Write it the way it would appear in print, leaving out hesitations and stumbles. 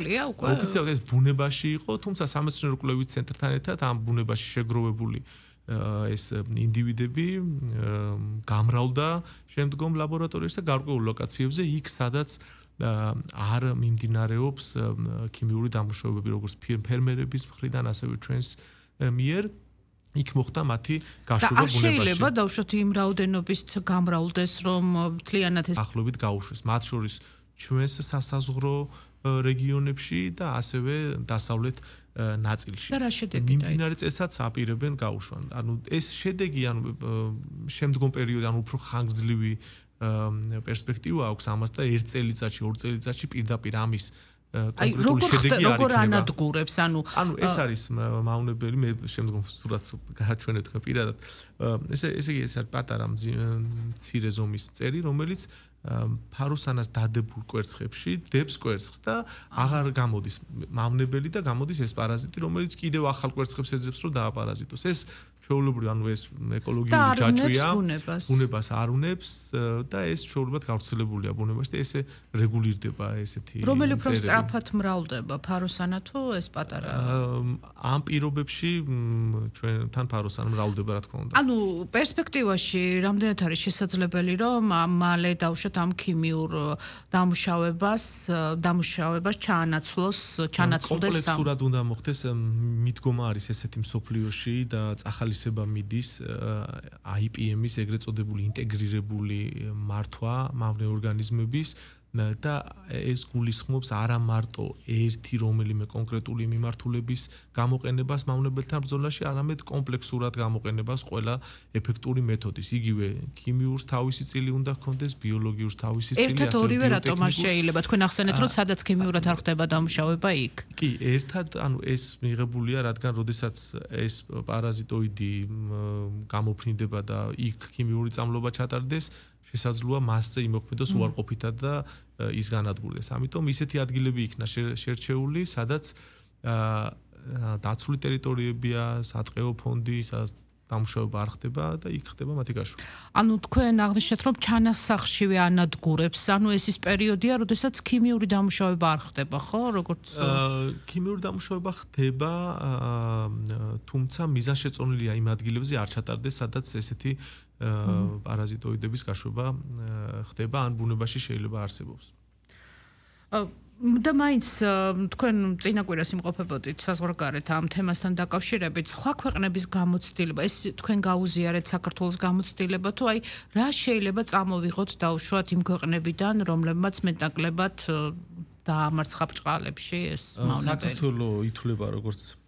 ოფიციალურად ეს ბუნებაში იყო, თუმცა სამეცნიერო კვლევით ცენტრთან ერთად ამ ბუნებაში შეგროვებული ეს ინდივიდები გამრავლდა შემდგომ ლაბორატორიაში და გარკვეულ ლოკაციებზე იქ სადაც არ მიმდინარეობს ქიმიური დამუშავებები როგორც ფერმერების მხრიდან ასევე ჩვენს მიერ იქ მოხდა მათი გაშვება ბუნებაში. შეიძლება დავუშვათ იმ რაოდენობის გამრავლდეს რომ მთლიანად ეს ახლობით გაუშვეს მათ შორის ჩვენს სასაზღვრო რეგიონებში და ასევე დასავლეთ ნაწილში. და რა შედეგი მიმდინარე წესაც აპირებენ გაუშვან. ანუ ეს შედეგი ანუ შემდგომ პერიოდში ანუ უფრო ხანგრძლივი პერსპექტივა აქვს ამას და 1 წელიწადში, 2 წელიწადში პირდაპირ ამის კონკრეტული შედეგი არ იქნება. როგორ ანადგურებს ანუ ეს არის მავნებელი მე შემდგომ სურათს გააჩვენებ თქვენ პირადად. ესე იგი ეს არის პატარა მცირე ზომის წერი, რომელიც ფაროსანას დადებულ კვერცხებში დებს კვერცხს და აღარ გამოდის მავნებელი და გამოდის ეს პარაზიტი, რომელიც კიდევ ახალ კვერცხებს ეძებს რომ დააპარაზიტოს. ეს ჩვეულებრივი ანუ ეს ეკოლოგიური ჯაჭვია, ბუნებას არ უნებს და ეს ჩვეულებრივად გავრცელებულია ბუნებაში და ესე რეგულირდება ესეთი რომელი უფრო სწრაფად მრავლდება ფაროსანა თუ ეს პატარა ამ პირობებში ჩვენთან ფაროსანა მრავლდება რა თქმა უნდა. ანუ პერსპექტივაში რამდენად არის შესაძლებელი რომ მალე დავუშვათ ამ ქიმიურ დამუშავებას ჩაანაცვლოს კომპლექსურად უნდა მოხდეს მიდგომა არის ესეთი მსოფლიოში და წახალისება მიდის IPM-ის ეგრეთ წოდებული ინტეგრირებული მართვა მავნე ორგანიზმების და ეს გულისხმობს არა მარტო ერთი რომელიმე კონკრეტული მიმართულების გამოყენებას მავნებელთან ბრძოლაში, არამედ კომპლექსურად გამოყენებას ყველა ეფექტური მეთოდის. იგივე ქიმიურს თავისი წილი უნდა ჰქონდეს, ბიოლოგიურს თავისი წილი, ერთად ორივე რატომ არ შეიძლება თქვენ ახსენეთ რომ სადაც ქიმიურად არ ხდება დამუშავება იქ? კი, ერთად, ანუ ეს მიღებულია, რადგან როდესაც ეს პარაზიტოიდი გამოფრინდება და იქ ქიმიური წამლობა ჩატარდეს, შესაძლოა მასზე იმოქმედოს უარყოფითად და ის განადგურდეს. ამიტომ ისეთი ადგილები იქნა შერჩეული, სადაც დაცული ტერიტორიებია, სატყეო ფონდი, სადაც დამუშავება არ ხდება და იქ ხდება მათი გაშვა. ანუ თქვენ აღნიშნეთ რომ ჩანასახშივე ანადგურებს, ანუ ეს ის პერიოდია, როდესაც ქიმიური დამუშავება არ ხდება, ხო? როგორც ქიმიური დამუშავება ხდება, თუმცა მიზანშეწონილია იმ ადგილებზე არ ჩატარდეს, სადაც ესეთი პარაზიტოიდების გაშვება ხდება, ან ბუნებაში შეიძლება არსებობს. და მაინც თქვენ წინა კვირას იმყოფებოდით საზღვარგარეთ ამ თემასთან დაკავშირებით, სხვა ქვეყნების გამოცდილება, ეს თქვენ გაუზიარეთ საქართველოს გამოცდილება თუ აი რა შეიძლება წამოვიღოთ დაუშვათ იმ ქვეყნებიდან, რომლებმაც მეტნაკლებად დაამარცხა ბრჭყალებში ეს მავნებელი? საქართველო ითვლება როგორც